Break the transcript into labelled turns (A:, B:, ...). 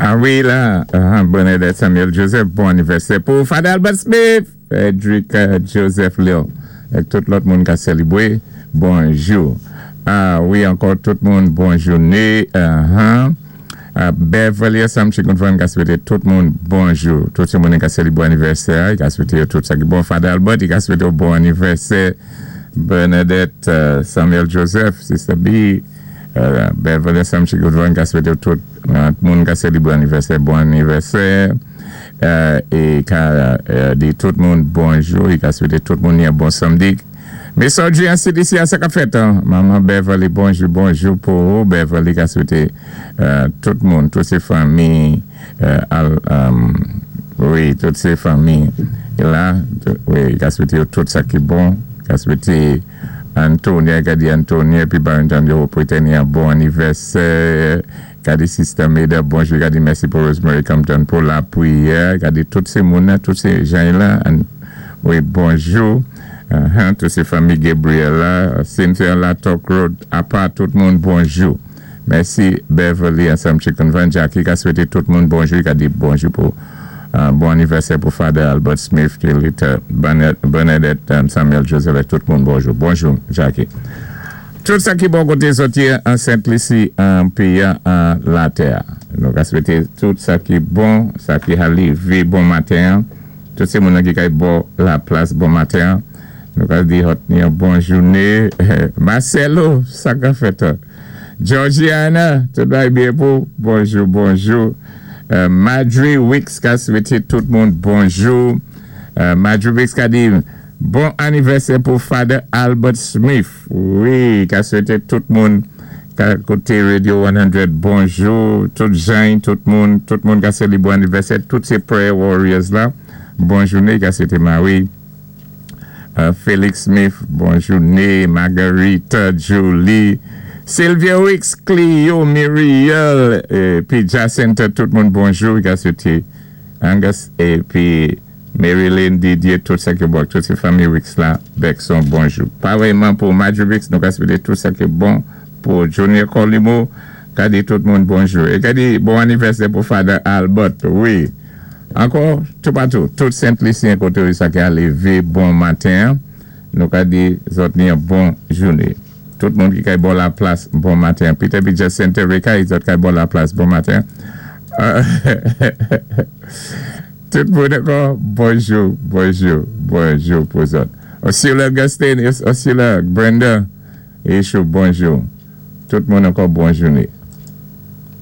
A: A wi la, Bernadette Samuel Joseph, bon anivèsè pou Father Albert Smith, Frederick Joseph Lil, ak tout lòt moun ka sélébwé, bonjou. A wi ankò tout moun bon jouné. Beverly ansanm Chicken Fun ka swété tout moun bonjou. Tout sé moun ka sélébwé anivèsè, i ka swété yo tout sa ki bon. Father Albert, i ka swété yo bon anivèsè. Bernadette Samuel Joseph, Sister B, Beverly ansanm Chicken Fun ka swété yo tout moun ka sélébwé anivèsè, bon anivèsè. É ka di tout moun bonjou, i ka swété tout moun yon bon samdi. Miss Audrey an CDC a, sa ka fèt, Manman Beverly, bonjou, bonjou pou ou. Beverly ka swété tout moun, tout sé fanmi al, wi, tout sé fanmi la, wi, ka swété yo tout sa ki bon, ka swété Antonia, ka di Antonia épi Barrington yo Pretenia bon anivèsè. Ka di Sister Meda bonjou, ka di mèsi pou Rosemary Compton pou lapwiyè, ka di tout sé moun, tout sé jan la, wi, bonjou, tout sé fanmi Gabriel la, Cynthia la Talk Road, apa tout moun bonjou. Mèsi Beverly ansanm Chicken Van Jackie ka swété tout moun bonjou, ka di bonjou pou bon anivèsè pou Father Albert Smith, Kelita, Bernadette Samuel Joseph, ak tout moun bonjou. Bonjou Jackie. Tout sa ki bon koté sòti an Sent Lisi an péyi an latè. Nou ka swété tout sa ki bon, sa ki ka lévé bon maten, tout sé moun ki kay bò laplas bon maten. Nou ka di zòt yon bon jouné. Marcelo, sa ka fèt. Georgiana, tout bagay byen pou. Bonjou, bonjou. Madry Wicks ka swété tout moun bonjou. Madry Wicks ka di bon anivèsè pou Father Albert Smith. Wi, ka swété tout moun ka koté Radio 100 bonjou, tout jan, tout moun ka sélébwé anivèsè, tout sé Prayer Warriors la. Bon jouné, ka swété Marie. Félix Smith, bon jouné, Marguerite, Julie, Sylvia Wicks, Clio, Muriel, épi Jacinta, tout moun bonjou, ka swété Angus, épi Marilyn, Didier, tout sa ki bon, tout sé fanmi Wicks la, Bekson, bonjou. Parèyman pou Marjorie Wicks, nou ka swété tout sa ki bon pou Junior Colimo, ka di tout moun bonjou. É ka di bon anivèsè pou Father Albert, wi. Ankò, toupatou, tout Sent Lisyen koté sa ki a lévé bon maten, nou ka di zòt ni yon bon jouné. Tout moun ki kay bò laplas bon maten. Peter B. Jacinta Rekay, zòt kay bò laplas bon maten. Tout moun ankò, bonjou, bonjou, bonjou pou zòt. Osula Augustine, Osula Brenda, Echou, bonjou. Tout moun ankò bon jouné.